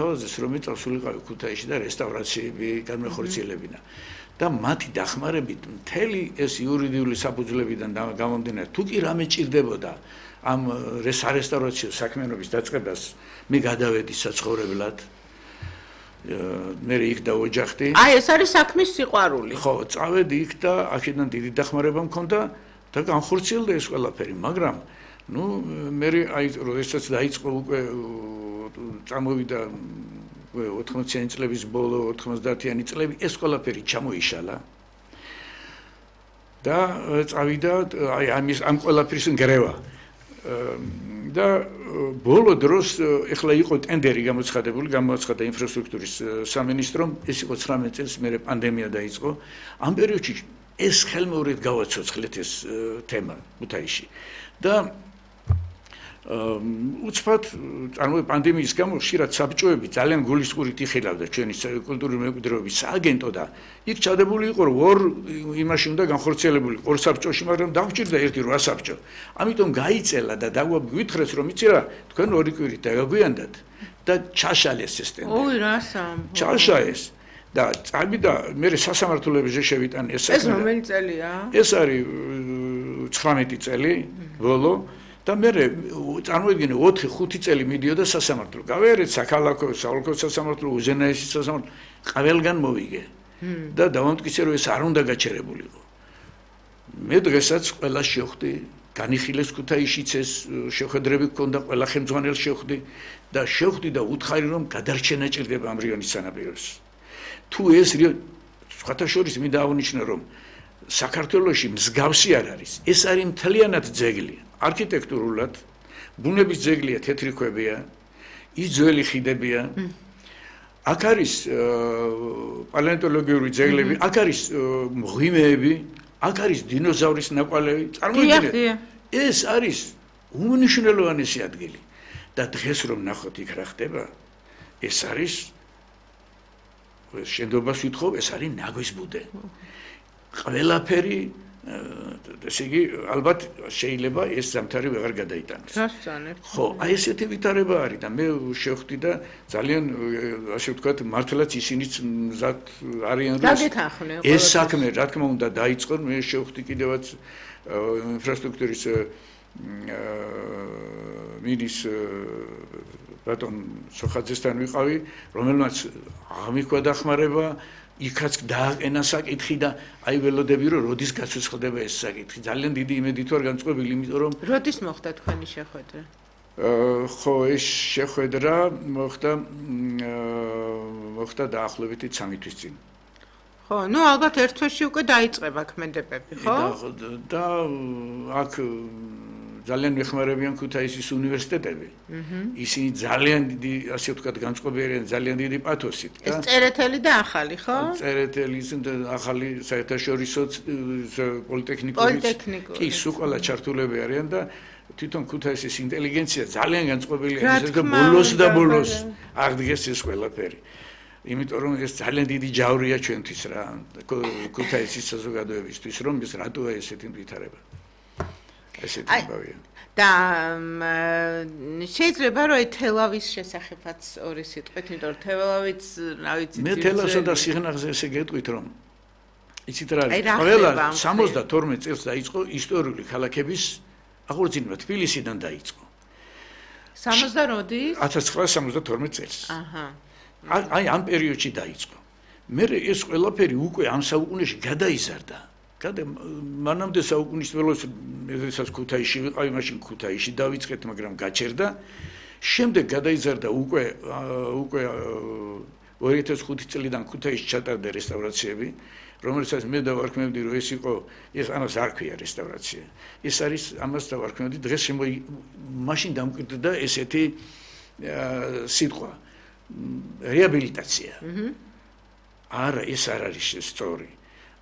თავაზეს რომ წავსულიყავი ქუთაისში და რესტავრაციები განმეხორციელებინა და მათი დახმარებით მთელი ეს იურიდიული საფუძვლებიდან გამომდინარე თუ კი რამე ჭირდებოდა ამ რესტავრაციო საქმიანობის დაწყებას მე გადავედი საცხოვრებლად მე იქ დავოჯახდი აი ეს არის საქმის სიყვარული ხო წავედი იქ და აქედან დიდი დახმარება მქონდა და განხორციელდა ეს ყველაფერი მაგრამ ნუ მე აი როდესაც დაიწყო უკვე წამოვიდა 80-იანი წლების ბოლო 90-იანი წლები ეს ყველაფერი ჩამოიშალა და წავიდა აი ამ ყველაფრის ნგრევა და ბოლო დროს ეხლა იყო ტენდერი გამოცხადა ინფრასტრუქტურის სამინისტრომ ეს იყო 19 წელს მერე პანდემია დაიწყო ამ პერიოდში ეს ხელმეორედ გავაცოცხლეთ ეს თემა ქუთაისში და უცბად წარმოიდგინე პანდემიის გამო ხშირად საბჭოები ძალიან გულისწყურით იხილავდა ჩვენი კულტურული მემკვიდრეობის სააგენტო და იქ ჩადებული იყო რომ ორ იმაში უნდა განხორციელებული ორ საბჭოში მაგრამ დაგვჭირდა ერთი 8 საბჭო ამიტომ გაიწელა და დაგვიტხრეს რომ იცი რა თქვენ ორი კვირით დაგაგვიანდათ და ჩაშალეს ეს ტენდერი ოი რასამ ჩაშაეს და წავიდა მე სასამართლოებზე შევიტან ეს რომელი წელია ეს არის 19 წელი ბოლო და მე წარმოიდგინე 4-5 წელი მიდიოდა სასამართლო. გავიარეთ საქალაქო, საოლქო სასამართლო, უზენაესი სასამართლო, ყველგან მოვიგე. და დავამტკიცე რომ ეს არ უნდა გაჩერებულიყო. მე დღესაც ყველა შევხვდი, განიხილეს ქუთაისშიც ეს შეხვედრები გქონდა, ყველა ხელმძღვანელს შევხვდი და შევხვდი და უთხარი რომ გადარჩენა ჭირდება ამ რიონის სანაპიროს. თუ ეს სხვათა შორის მინდა აღნიშნო რომ საქართველოში მსგავსი არ არის. ეს არის მთლიანად ძეგლი. არქიტექტურულად ბუნების ძეგლია თეთრი ქვებია ის ძველი ხიდებია აქ არის პალეონტოლოგიური ძეგლები აქ არის მღვიმეები აქ არის დინოზავრის ნაკვალევი წარმოიდგინეთ ეს არის უმნიშვნელოვანესი ადგილი და დღეს რომ ნახოთ იქ რა ხდება ეს არის შენდობას ვითხოვ ეს არის ნაგვის ბუდე ყველაფერი ესე იგი ალბათ შეიძლება ეს ზამთარი ვეღარ გადაიტანოს. ხო, აი ესეთი ვითარება არის და მე შევხვდი და ძალიან ასე ვთქვათ მართლაც ისინიც მზად არიან ეს საქმე რა თქმა უნდა დაიწყო მე შევხვდი კიდევაც ინფრასტრუქტურის მინის ბატონ სოხაძესთან ვიყავი რომელმაც აღმიქვა დახმარება იქაც დააყენა საკითხი და აი ველოდები რომ როდის გაცოცხლდება ეს საკითხი ძალიან დიდი იმედით ვარ განწყობილი იმიტომ რომ როდის მოხდა თქვენი შეხვედრა ხო ეს შეხვედრა მოხდა დაახლოებით 3 თვის წინ ხო ნუ ალბათ ერთ თვეში უკვე დაიწყება ქმედებები ხო და აქ ძალიან მეხმარებიან ქუთაისის უნივერსიტეტები. ისინი ძალიან დიდი, ასე ვთქვათ, განწყობილ ძალიან დიდი პათოსით. ეს წერეთელი და ახალი, ხო? წერეთელი და ახალი საერთაშორისო პოლიტექნიკური. კი, სულ ყველა ჩართულები არიან და თვითონ ქუთაისის ინტელიგენცია ძალიან განწყობილია ისე და ბოლოს აღდგეს ეს ყველაფერი. იმიტომ რომ ეს ძალიან დიდი ჯავრია ჩვენთვის რა, ქუთაისის საზოგადოებისთვის, რომ ეს რატოა ესეთი ვითარება. და შეიძლება რომ თელავის შესახებაც ორი სიტყვით, იმიტომ რომ თელავიც, რა ვიცი, მე თელავსა და სიღნაღზე ესე გეტყვით რომ იცით რა არის, ყველა 72 წელს დაიწყო ისტორიული ქალაქების აღორძინება თბილისიდან დაიწყო. 70-ის? 1972 წელს. აი ამ პერიოდში დაიწყო. მე ეს ყველაფერი უკვე ამ საუკუნეში გადაიზარდა. მანამდე საუკუნის ველოს როდესაც ქუთაისში ვიყავი, მაშინ ქუთაისში დავიწყეთ, მაგრამ გაჩერდა. შემდეგ გადაიზარდა უკვე 2005 წლიდან ქუთაისში ჩატარდა რესტავრაციები, რომელსაც მე დავარქმევდი, რომ ეს იყო, ამას არ ქვია რესტავრაცია. ეს არის ამას დავარქმევდი, დღეს მაშინ დამკვიდრდა ესეთი სიტყვა რეაბილიტაცია. არა, ეს არ არის სწორი.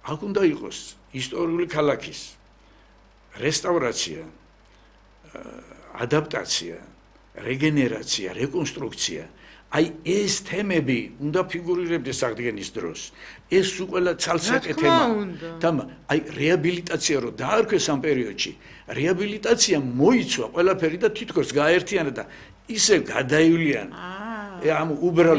აქ უნდა იყოს ისტორიული ქალაქის რესტავრაცია, ადაპტაცია, რეგენერაცია, რეკონსტრუქცია. აი ეს თემები უნდა ფიგურირებდეს აღდგენის დროს. ეს უყველა ცალსაკე თემა. აი რეაბილიტაცია რო დაარქვეს ამ პერიოდში, რეაბილიტაცია მოიცვა ყველაფერი და თითქოს გააერთიანა და ისე გადაივლიან. ამ უბრალო